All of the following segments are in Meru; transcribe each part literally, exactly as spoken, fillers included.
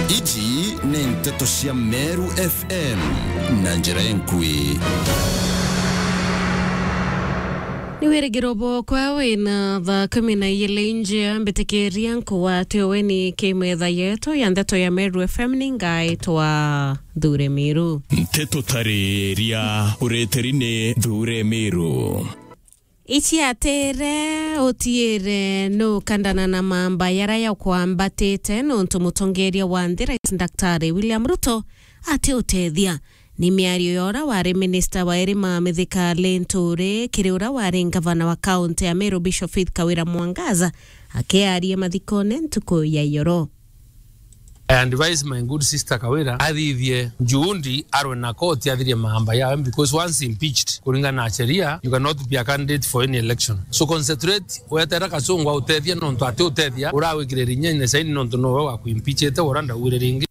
Iji ni nteto cia Meru F M na njira enkui. Ni wirigiro bwakwa wina thaa kumi na ijiri njia mbitikiria nkugwate weni ki metha yetu ya nteto ya Meru F M, ni ngaitwa Thure Miru. Nteto tariria ureteri ni Thure Miru. Iciatire utiire nukandana na mamba yara yakwambatite nontu mutongeria wa nthi Rais Daktari William Ruto ati utethia. Ni miario ya ura wari minista wa irima Mithika Linturi kiri ura wari ngavana wa kaunti ya Meru Bishop Faith Kawira Mwangaza akiaria mathikone ntuku ya iyoro. I advise my good sister Kawira athithie juhudi arwe na koti athirie maamba yawe, because once impeached, kuringana na sheria, you cannot be a candidate for any election. So concentrate, wetera Kasongo autethia nontu ati utethia, urawikire rinya ine saini nontu nowe wakuimpeachite, ura ndauire ringi.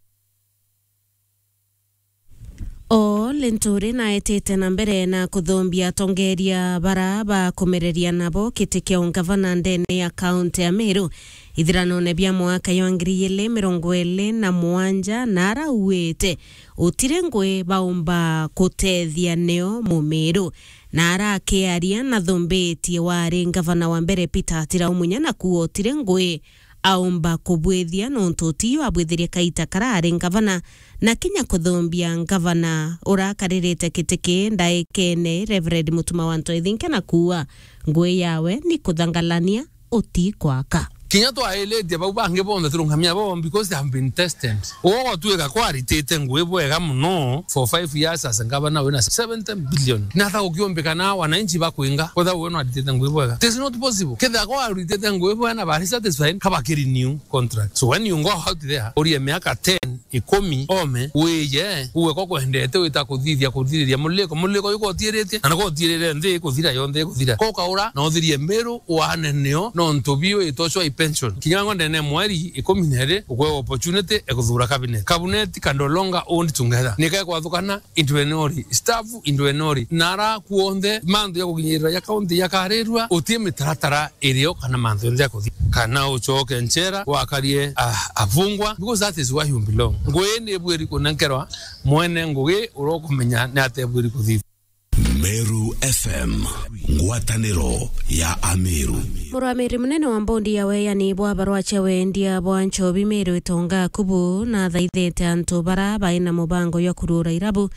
O Linturi naetite na mbere na kuthumbia atongeria bara bakumereria nabo giti kia ungavana ndene ya kaunti ya Meru ithiranone bia mwaka jwa ngiri ijiri mirongo iri na mugwanja, na arauite utiri ngui baumba kutethia nio Mumiru. Na arakiaria na thumbitie wari ngavana wa mbere Peter Atira Umunya na kuuga utiri ngui aumba kubwithia nontu utiyo abwithirie kaita kara ari ngavana, na kinya kuthumbia ngavana urakaririte giti kii ndaikene Reverend Mutuma wa Ntoithinke na kuuga ngui yawe ni kuthangalania uti kwaka. Kinya twailitie bau bangi bonthe turungamia bo because they have been tested. Ugo gutwika kwaritite ngui bwega muno for five years as a governor wina seventy billion. Na ta ukiumbika na wananchi bakwinga, kwetha uwe no aritite ngui bwega. It is not possible. Ketha kwa aritite ngui bwega na bari satisfied, kaba kiri new contract. So when you go out there, urie miaka ten, ikumi, ome, wije, uwe ko kwendete wita kuthithia, kuthiriria muliko, muliko yuko utiritie, na niko utirire nthi kuthira yonthe kuthira. Ko kaura, na uthirie Meru, wane nio, nontu biu itocwa i pension. Kinya ngo ndene mweri ikumi na iri, ukwe opportunity, ekuthura cabinet. Cabinet can no longer own together. Nika kwathukana, into enori, staff into enori, na ara kuonthe, mantu ya kuginyirira ya county yakarirua, utie mitaratara irio kana mantu yonthe ya kuthi. Kana ucoke nchera, wakarie, ah, afungwa, because that is where you belong. Ngui ni bwiri kunenkerwa, mwene ngugi urokumenya ni ate bwiri kuthi. Meru F M, ngwataniro ya Ameru. Murwamiri munene wa mbondi ya weyani bwa barua cia wendia bwa nchobi Meru Itonga Akubu nathaithite antu bara baina mubango jwa kurura irabu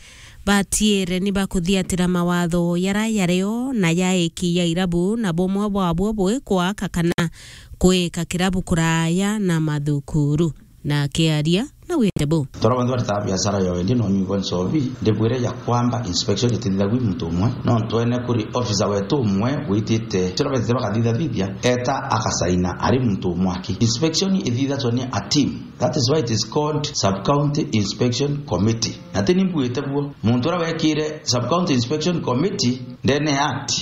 batiire ni bakuthiatira mawatho yara yario na yaiki ya irabu, na bumwe bwabo bwi kwaka kana kwika kirabu kuraya na mathukuru. Na akiaria na wite bu. Toro bantu baritaga biashara ya wendia no nyugo nchobi, ndibwire ya kwamba inspection itithithagwi muntu umwe, no ntwene kuri officer wetu umwe witite. Toro betite bakathithathithia, eta akasaina ari muntu umwe aki. Inspection ithithatwa ni a team. That is why it is called Sub-County Inspection Committee. Na ti ni mbuite buo. Muntu uria wekire Sub-County Inspection Committee ndene ya act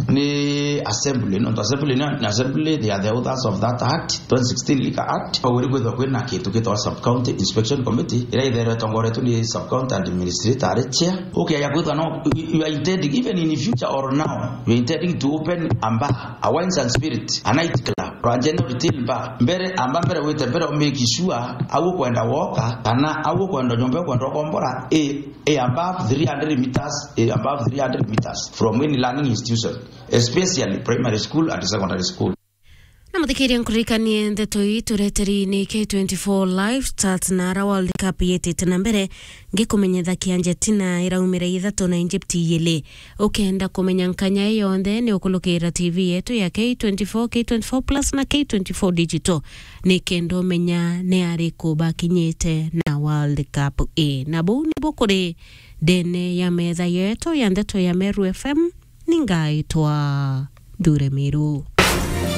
ni assembly, nontu assembly ni, ni assembly, they are the authors of that act, twenty sixteen Liquor Act. Au iri kwithwa kwina kintu gitagwa Sub-County Inspection Committee, iria itherwe itongoretwe ni Sub-County Administrator ari chair. Okay, ya kwithwa no, you, you are intending, even in future or now, you are intending to open a bar, a wines and spirit, a night club, or a general retail bar. Mbere, amba mbere wite mbere, make sure au kwenda woka, kana au kwenda nyomba kwenda kombora, e, e above three hundred meters, e above three hundred meters from any learning institution, especially primary school and secondary school. Na muthikiria, nkuririkanie ndeto ii tureteri ni K twenty-four Live Stats na ara World Cup yitite na mbere, ngikumenyetha kia Argentina iraumire ithatu na Egypt ijiri. Ukenda kumenya nkanya ii yonthe, ni ukulukira T V yetu ya K twenty-four, K twenty-four Plus na K twenty-four Digital, ni kenda umenya ni ariku bakinyite na World Cup ii. Na buu nibu kuri ndene ya metha yetu ya ndeto ya Meru F M, ni ngaitwa Thure Miru.